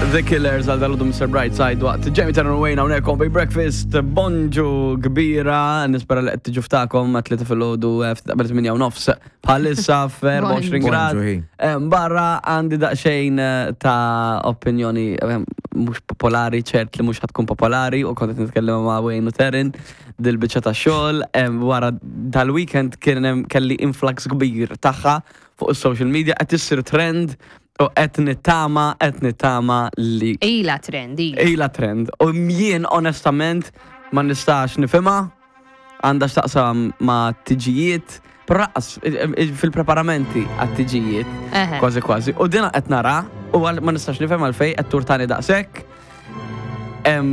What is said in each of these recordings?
The Killers għal dal Mr. Brightside waqt Jamie Turner Wayne hawnhekk on Big Breakfast bonġu kbira nispera li qed tiġu ftakom ma tlieta filgħodu eh, ftit qabel 8 u nofs bħalissa f'24 grad. Bonġu, hi. Eh, Barra għandi daqsxejn eh, ta' opinjoni eh, mhux popolari, ċert li mhux ħatkun popolari u kont qed nitkellem ma' Wayne u Terin dil-biċċa ta' xogħol eh, wara dal-weekend kien hemm kelli influx kbir tagħha fuq is-social media qed issir trend u qed nittama qed nittama li Ila trend, ila. ila trend. U jien onestament ma nistax nifhimha għandha x'taqsam ma' tiġijiet, però lanqas fil-preparamenti għat-tiġijiet Eħe. kważi kważi. U dina qed nara u għal- ma nistax nifhem għalfejn qed turtani daqshekk. Em,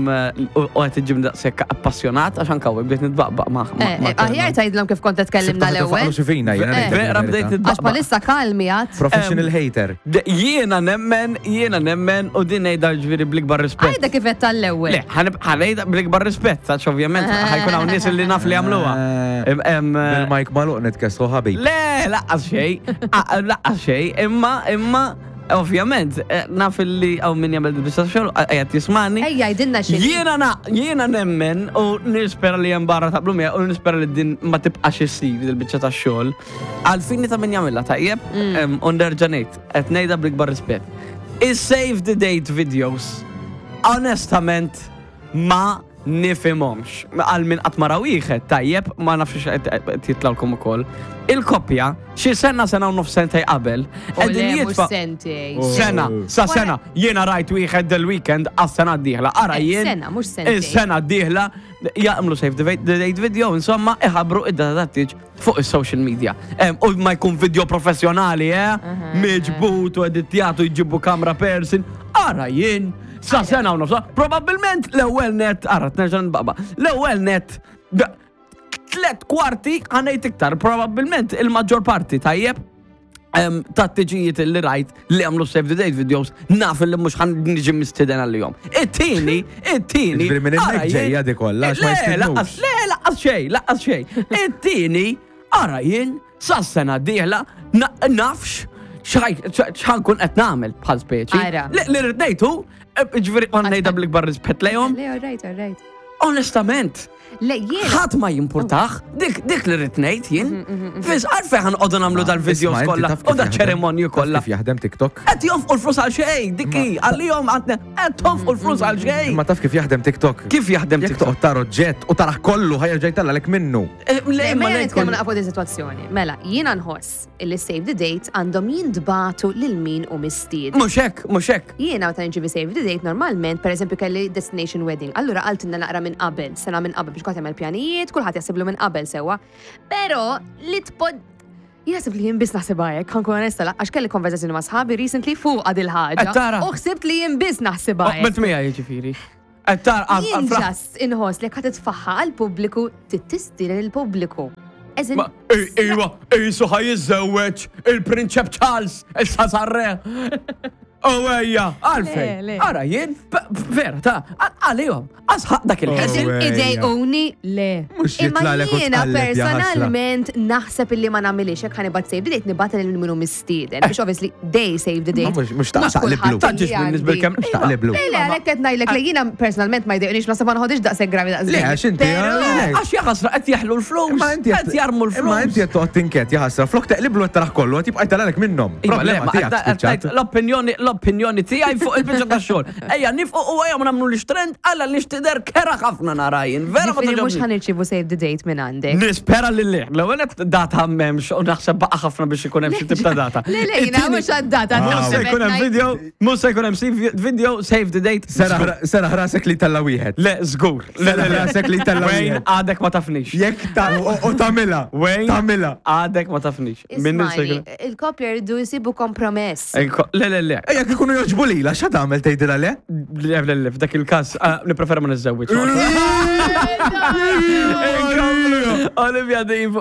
U u qed iġib daqshekk appassjonat għax anke hawnhekk bdejt nitbaqbaq ma' ma' Eh, eh, Aħjar tgħidilhom kif kont tkellimna l-ewwel. Xifina, jiena Eh. ngħidlek Vera il-verità. bdejt Għax nitbaqbaq. bħalissa kalmi għad. Professional hater. Jiena nemmen, jiena nemmen u din ngħidha ġifieri bl-ikbar rispett. Għajda kif qed tal-ewwel. Le, ħanejda bl-ikbar rispett, għax ovvjament ħajkun hawn nies li naf li jagħmluha. Eh. Em, em, Bil-mike maluq nitkesslu ħabib. Le, laqqas xej, laqqas xej, imma, imma, ovvjament, eh, naf li hawn min jagħmel biex xogħol, qiegħed jismani. Ejja, jgħidilna xi. Jiena na, jiena nemmen u nispera li hemm barra taqblu miegħi u nispera li din ma tibqax issir il-biċċa tax-xogħol. Għalfini ta' min jagħmilha tajjeb, em, u nerġa' ngħid, qed ngħidha bl-ikbar rispett. Is-save the date videos, onestament, ma nifhimhomx. Għal min qatt ma ra wieħed tajjeb, ma nafx x'qed qed jitlawlkom ukoll. Il-koppja xi sena sena u nofs sentej qabel U le, qegħdin mhux jitfa' sentej. Sena, sa sena, jiena rajt wieħed del-weekend għas-sena d-dieħla. Ara Eh, jien. sena, mhux sentejn. Is-sena d-dieħla jagħmlu save the date- the date video, insomma, iħabbru id-data tat-tieġ fuq is-social media. Em, U ma jkun video professjonali, eh? Miġbut u editjatu jġibu kamra person. Ara jien, sa sena u nofsa, probabbilment l-ewwel net, ara t-nerġa' nbaqba, l-ewwel net, da- tlet kwarti ħanejt iktar, probabbilment il-maġġor parti tajjeb em, ta' tiġijiet li rajt li għamlu save the date videos naf li mhux ħan niġi mistiden għal-jom. It-tieni, it-tieni. Ġifieri minn hemmhekk ara jien- ġejja di kollha, għax ma Le, jistidnux. laqqas, le, laqqas xejn, laqqas xejn. It-tieni, ara jien, sa sena dieħla, na- nafx x'ħankun qed nagħmel bħal speċi. Ara. Li li rrid ngħid hu, eh, ġifieri ma ngħidha bl-ikbar rispett lejhom, Le, all right, all right. onestament, Le, jiena. ħadd ma jimpurtax, dik dik li rrid ngħid jien. Fis għalfejn ħanqogħdu nagħmlu dal-videos Isma', inti kollha taf u kif da jaħdem- ċerimonju taf kollha. Kif jaħdem TikTok? Qed jonfqu l-flus għal xejn, dik hi, għalihom għandna qed tonfqu l-flus għal xejn. Ma taf kif jaħdem TikTok? Kif jaħdem Jekk TikTok? toqgħod tara oġġett u taraħ kollu ħajja ġejtalla lek minnu. Eh, Le, Le, ma mela ngħid nitkellmu kollu. naqfu di situazzjoni. Mela, jiena nħoss illi save the date għandhom jintbatu lil min u mistied. Mhux hekk, mhux hekk. Jiena meta nġibi save the date normalment, per eżempju kelli destination wedding. Allura qaltilna naqra minn qabel, sena minn qabel biex kulħadd jagħmel pjanijiet, kulħadd jaħsiblu minn qabel sewwa. Però li tpod Jaħseb li jien biss naħsibha hekk, ħankun onesta, la- għax kelli konverzazzjoni ma' sħabi recently fuq għad il-ħaġa. Qed tara? U ħsibt li jien biss naħsibha hekk. Oqbet miegħi jiġifieri. Qed tara Jien ġast inħoss li qed titfaħħa għall-pubbliku tittistieden il-pubbliku. As in, Ma- Iwa, isu ħaj jiżżewweġ il-Prinċep Charles, issa sarre. Oh ejja, għalfejn. Le, le. Ara jien, vera, ta' għalihom, għasħaq dak Oh, il-ħin. ejja. Idejquni le. Mhux Imma jitlagħlek u jiena tqalleb, ja ħasra. personalment naħseb illi ma nagħmilix hekk ħanibat save the date nibgħat lil min hu mistieden. Biex obviously they save the date. Ma mhux- mhux taqliblu. kulħadd Taġġiex li minn nisbel għandi. kemm. Mhux taqliblu. Le, le, għalhekk qed ngħidlek li jiena personalment ma jdejqunix naħseb ma nħodix daqshekk gravi daqshekk. Le, għax inti, Però- le. Għax jaħasra qed jeħlu l-flus, Imma inti qed jarmu l-flus. Imma inti qed toqgħod tinket ja ħasra. Flok teqliblu qed taraħ kollu qed jibqa' jtallalek minnhom. Iva, le, Problema ma tiegħek qed- qed spiċċat. ngħid L-opinjoni, l-opinjoni tiegħi fuq il-biċċa tax-xogħol. Ejja, nifqu u ejja ma nagħmlu li trend għalla li xtider kera ħafna nara jien. Vera ma Ġifieri mhux togħġobni. ħanirċievu save the date minn għandek. Nispera li le. L-ewwel qed data m'hemmx u naħseb baqa' ħafna biex ikun hemm xi tip ta' data. Le, le, jiena It-tieni- mhux għad-data. Ah, Mhux se jkun hemm video, mhux se jkun hemm save- video, save the date. Seraħ seraħ rasek li tella wieħed. Le, żgur. Le, le, Seraħ le. rasek li tella Wayne, wieħed. għadek ma tafnix. Jekk ta' u u tagħmilha. Wayne, Tagħmilha. għadek ma tafnix. Minni se Ismani, jkun- il-kopja jridu jsibu kompromess. Inko- Le, le, le. Ejja jekk ikunu joġbu lila, x'għad tagħmel tgħidilha le? Le, le, le, f'dak il-każ, ah, nippreferi ma niżżewwiġ. Inkomplu. Olivia Dean fuq